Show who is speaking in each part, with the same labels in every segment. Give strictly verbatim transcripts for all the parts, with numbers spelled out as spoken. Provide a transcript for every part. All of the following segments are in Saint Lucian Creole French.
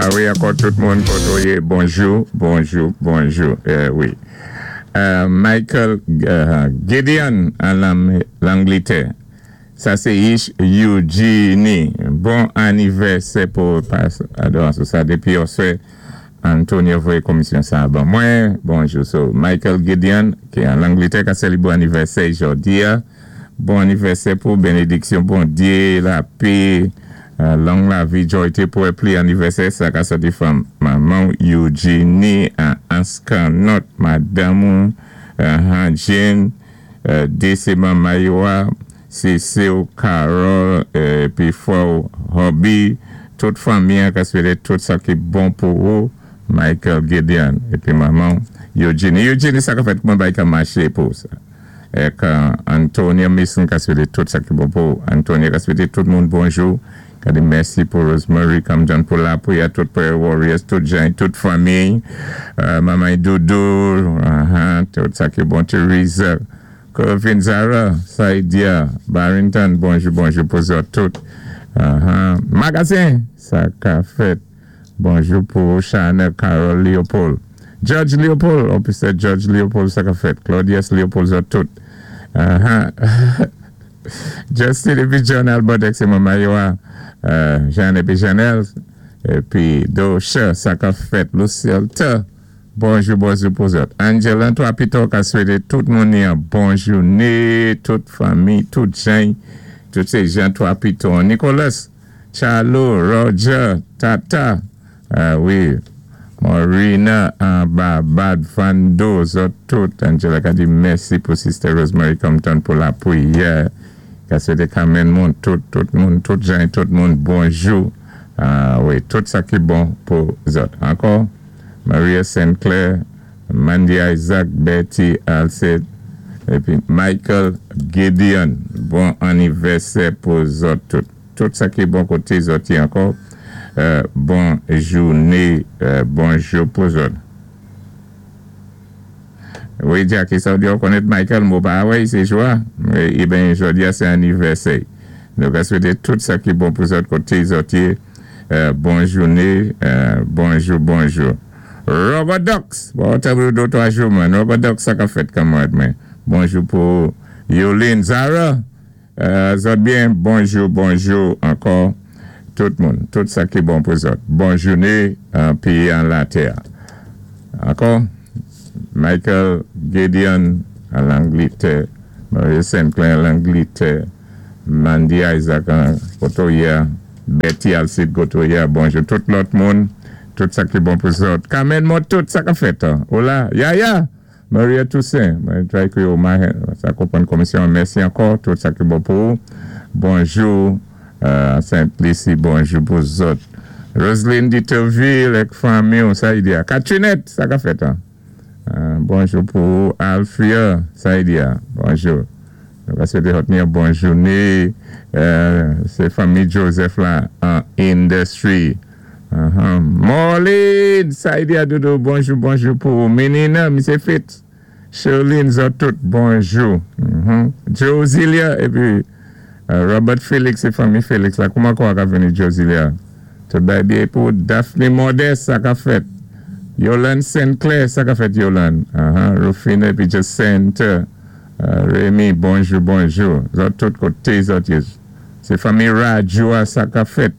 Speaker 1: Ah wi, ankò tout moun kotoyé, bonjou, bonjou, bonjou. Euh, wi. Euh, Michael euh, Gideon an Langlétè. Sa sé Ish Eugenie. Bon anivèsè pou pas adorasyon sa dépi oswè Antonio voyé komisyon sa ban mwen. Bonjou. So, Michael Gideon ki an Langlétè ka sali bon anivèsè jòdi-a. Bon anivèsè pou bénédiksyon, Bondyé, lapè, euh, long lavi, jòyté pou pli anivèsè sa ka sòti fanm manman Eugenie an Anskanot, madanm euh, Jane, euh, D C Mayowa, Cécile, Carol, épi frè Hobby, tout fanmi ka swété tout sa ki bon pou ou, Michael Gideon, épi manman Eugenie. Eugenie, sa ka fèt, kouman bay ka maché pou sa? Ek Antonia Mason ka swété tout sa ki bon pou Antonia, ka swété tout moun bonjou. Ka di mèsi pou Rosemary Camden pou lapriyè, tout Prayer Warriors, tout jan, tout fanmi, euh, Maman Doudou, uh -huh, tout sa ki bon, Teresa, Kevin Zara, Saidia, Barrington, bonjou, bonjou pou zòt tout. Uh -huh. Magasin, sa ka fèt. Bonjou pou Chanel Carol Leopold. Judge Leopold, Officer Judge Leopold, sa ka fèt. Claudius Leopold, zòt tout. Uh -huh. Justin épi John Albert, sé manman yo, euh, Jean épi Janelle, épi Dosha, sa ka fèt. Lucille T. Bonjou, bonjou pou zòt. Angela, toi, pito, ka swété tout moun yon bon jouné, tout fanmi, tout jan, tout sé jan, toi, pito. Nicolas, Charlo, Roger, Tata, euh, wi, Marina, Bad Vando, zòt tout. Angela ka di mèsi pou Sister Rosemary Compton pou lapriyè. Ka swété kanmenn moun, tout, tout moun, tout jan, tout moun, bonjou. Ah, wi, tout sa ki bon pou zòt. Ankò, Maria Sinclair, Mandy Isaac, Betty Alcide, épi Michael Gideon. Bon anivèsè pou zòt tout. Tout sa ki bon koté zòt ankò. Euh, bon jouné, euh, bonjou pou zòt. Wi, Jackie, sa di konnèt Michael, mwen pa wè, sé jwa. Eh ben, jòdi-a, sé anivèsè. Donk, a swété tout sa ki bon pou zòt koté zòt. Euh, bon jouné, euh, bonjou, bonjou. Robert Ducks, bon, t'as vu deux, trois jours, man. Robert Ducks, sa ka fèt kanmarad, man. Bonjou pou Yolene Zara. Euh, zòt byen, bonjou, bonjou ankò. Tout moun, tout sa ki bon pou zòt. Bon jouné, an péyi an latè. Ankò, Michael Gideon an Langlétè, Maria Sinclair an Langlétè, Mandy Isaac an Kotoya, Betty Alcide Kotoya, bonjou tout lòt moun, tout sa ki bon pou zòt. Carmen mwen tout sa ka fèt. Hola, Yaya, Maria Toussaint, mwen try ke yo sa konpwann komisyon, mèsi ankò, tout sa ki bon pou ou. Bonjou, euh, Saint-Lucie, bonjou pou zòt. Roselyne Diterville ak fanmi, sa y di. Katrinette, sa ka fèt. Hein? Euh, bonjou pou Alfia, sa y di. Bonjou. Nou va swété yon bon jouné. Euh, sé fanmi Joseph la an industry. Uh -huh. Marlene, sa y di Doudou, bonjou, bonjou pou Menina, Misye Fitz. Charlene, zòt tout, bonjou. Mm -hmm. Josilia, épi euh, Robert Félix é fanmi Félix la. Kouman kwa ka vini Josilia? Tout bay byen pou Daphne Modeste, sa ka fèt. Yolande Sinclair, sa ka fèt Yolande. Uh -huh. Rufina épi Jacinthe. Uh, Rémi, bonjou, bonjou. Zòt tout koté zòt. Sé fanmi Rajua, sa ka fèt.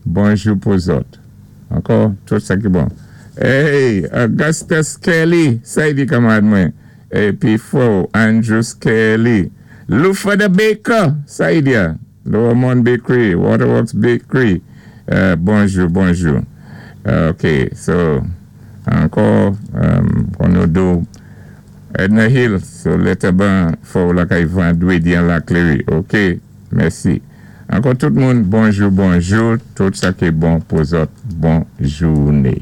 Speaker 1: Bonjou pou zòt. Ankò, tout sa ki bon. Hey, Augustus Kelly, sa y di kanmarad mwen. Épi Fo, Andrew Kelly. Lufa the Baker, sa y di. Lower Mount Bakery, Waterworks Bakery. Euh, bonjou, bonjou. Uh, ok, so, ankò, um, kon nou Edna Hill, so lèt ban fò lakay vandwédi an la Cléry. Ok, mèsi. Ankò tout moun, bonjou, bonjou. Tout sa ki bon pou zòt. Bon jouné.